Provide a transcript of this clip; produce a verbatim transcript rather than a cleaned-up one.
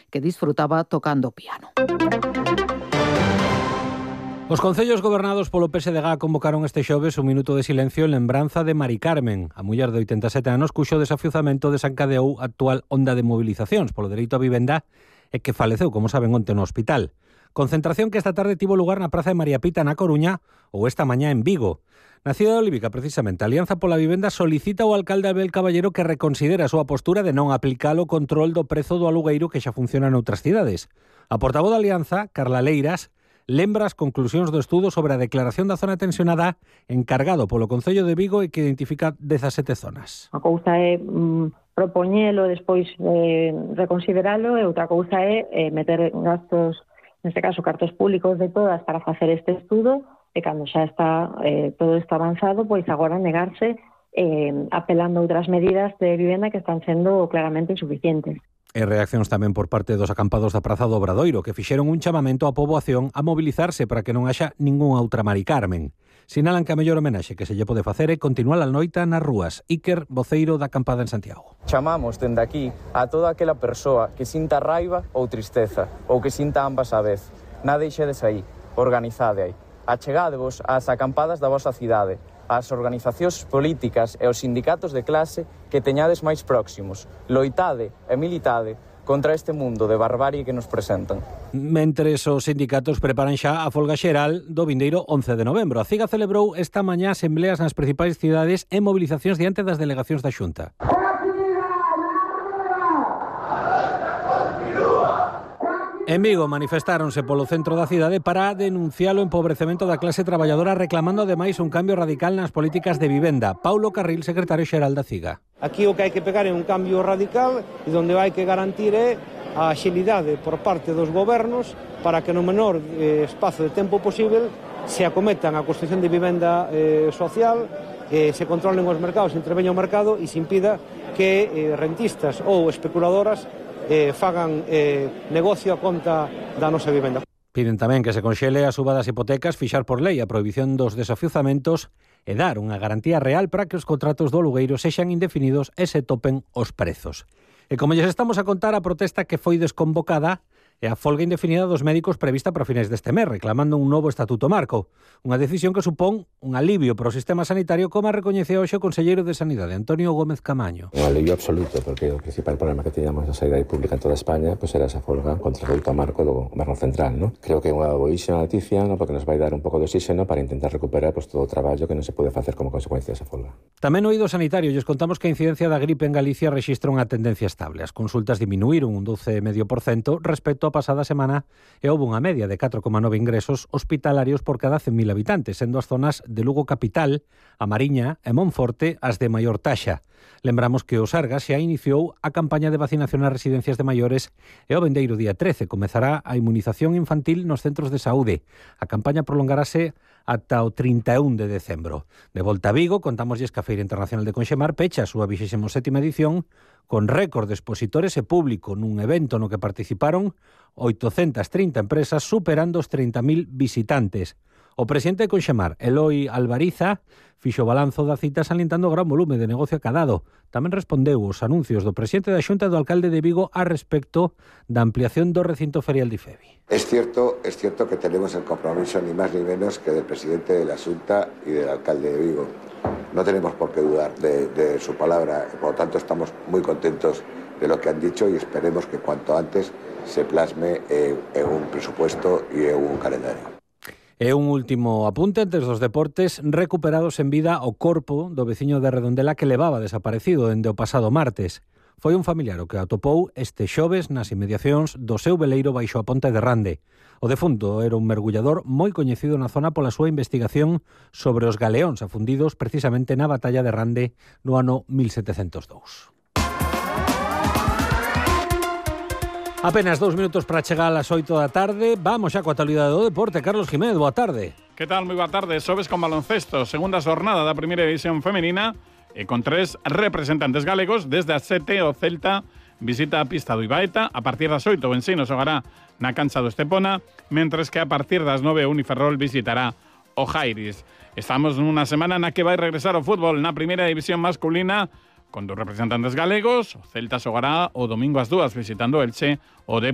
que disfrutaba tocando piano. Os concellos gobernados polo P S D G convocaron este xoves un minuto de silencio en lembranza de Mari Carmen, a muller de oitenta e sete anos cuxo desafiuzamento desencadeou a actual onda de mobilizacións polo dereito á vivenda e que faleceu, como saben, onte no hospital. Concentración que esta tarde tivo lugar na Praza de María Pita na Coruña ou esta mañá en Vigo. Na cidade olívica, precisamente, a Alianza pola Vivenda solicita ao alcalde Abel Caballero que reconsidere a súa postura de non aplicar o control do prezo do alugueiro que xa funciona noutras cidades. A portavoz da Alianza, Carla Leiras, lembra as conclusións do estudo sobre a declaración da zona tensionada encargado polo Concello de Vigo e que identifica dezasete zonas. A cousa é mm, propoñelo, despois eh, reconsideralo, e outra cousa é eh, meter gastos, neste caso cartos públicos de todas para facer este estudo, e cando xa está eh, todo isto avanzado, pois agora negarse eh, apelando a outras medidas de vivenda que están sendo claramente insuficientes. E reaccións tamén por parte dos acampados da Praza do Obradoiro, que fixeron un chamamento á poboación a mobilizarse para que non haxa ningunha outra Mari Carmen. Sinalan que a mellor homenaxe que se lle pode facer é continuar a noita nas rúas. Iker, voceiro da acampada en Santiago. Chamamos dende aquí a toda aquela persoa que sinta raiva ou tristeza, ou que sinta ambas á vez. Nada deixedes aí, organizade aí. Achegadevos ás acampadas da vosa cidade, ás organizacións políticas e os sindicatos de clase que teñades máis próximos. Loitade e militade contra este mundo de barbarie que nos presentan. Mentres os sindicatos preparan xa a folga xeral do vindeiro once de novembro. A CIGA celebrou esta mañá asembleas nas principais cidades e mobilizacións diante das delegacións da Xunta. En Vigo manifestáronse polo centro da cidade para denunciar o empobrecemento da clase traballadora, reclamando ademais un cambio radical nas políticas de vivenda. Paulo Carril, secretario xeral da CIGA. Aquí o que hai que pegar é un cambio radical e onde hai que garantir é a axilidade por parte dos gobernos para que no menor eh, espazo de tempo posible se acometan a construción de vivenda eh, social, eh, se controlen os mercados, se interveña o mercado e se impida que eh, rentistas ou especuladoras Eh, fagan eh, negocio a conta da nosa vivenda. Piden tamén que se conxele a suba das hipotecas, fixar por lei a prohibición dos desafiuzamentos e dar unha garantía real para que os contratos do alugueiro sexan indefinidos e se topen os prezos. E como lles estamos a contar, a protesta que foi desconvocada e a folga indefinida dos médicos prevista para finais deste mes, reclamando un novo estatuto marco. Unha decisión que supón un alivio para o sistema sanitario, como a recoñeceu hoxe o conselleiro de Sanidade, Antonio Gómez Camaño. Un alivio absoluto, porque o principal problema que teníamos na sanidade pública en toda España pues era esa folga contra o estatuto marco do goberno central, ¿no? Creo que é unha boísima noticia, ¿no? Porque nos vai dar un pouco de oxígeno para intentar recuperar pues, todo o traballo que non se pode facer como consecuencia desa folga. Tamén no eido sanitario, lles contamos que a incidencia da gripe en Galicia rexistra unha tendencia estable. As consultas diminuíron un doce coma cinco por cento respecto a pasada semana e houve unha media de catro coma nove ingresos hospitalarios por cada cen mil habitantes, sendo as zonas de Lugo capital, a Mariña e Monforte as de maior taxa. Lembramos que o Sergas xa iniciou a campaña de vacinación ás residencias de maiores e o vendeiro día trece comezará a inmunización infantil nos centros de saúde. A campaña prolongarase ata o trinta e un de decembro. De volta a Vigo, contámoslles que a Feira Internacional de Conxemar pecha a súa vixésima sétima edición con récord de expositores e público nun evento no que participaron oitocentas trinta empresas, superando os trinta mil visitantes. O presidente de Conxemar, Eloi Alvariza, fixo balanzo da cita salientando o gran volume de negocio acadado. Tamén respondeu os anuncios do presidente da Xunta e do alcalde de Vigo a respecto da ampliación do recinto ferial de IFEBI. Es cierto, es cierto que tenemos el compromiso ni más ni menos que del presidente de la Xunta y del alcalde de Vigo. No tenemos por qué dudar de, de su palabra, por lo tanto estamos muy contentos de lo que han dicho y esperemos que cuanto antes se plasme eh, en un presupuesto y en un calendario. E un último apunte antes dos deportes, recuperados en vida o corpo do veciño de Redondela que levaba desaparecido dende o pasado martes. Foi un familiar o que atopou este xoves nas inmediacións do seu veleiro baixo a ponte de Rande. O defunto era un mergullador moi coñecido na zona pola súa investigación sobre os galeóns afundidos precisamente na batalla de Rande no ano mil setecentos dous. Apenas dous minutos para chegar ás oito da tarde. Vamos xa coa actualidade do deporte. Carlos Jiménez, boa tarde. Que tal? Moi boa tarde. Sobes con baloncesto. Segunda xornada da primeira división femenina e con tres representantes galegos. Desde as sete o Celta visita a pista do Ibaeta. A partir das oito o Ensino xogará na cancha do Estepona, mentres que a partir das nove o Uniferrol visitará o Jairis. Estamos nunha semana na que vai regresar o fútbol na primeira división masculina con dos representantes galegos. O Celta xogará o domingo ás dúas visitando Elche, o Dep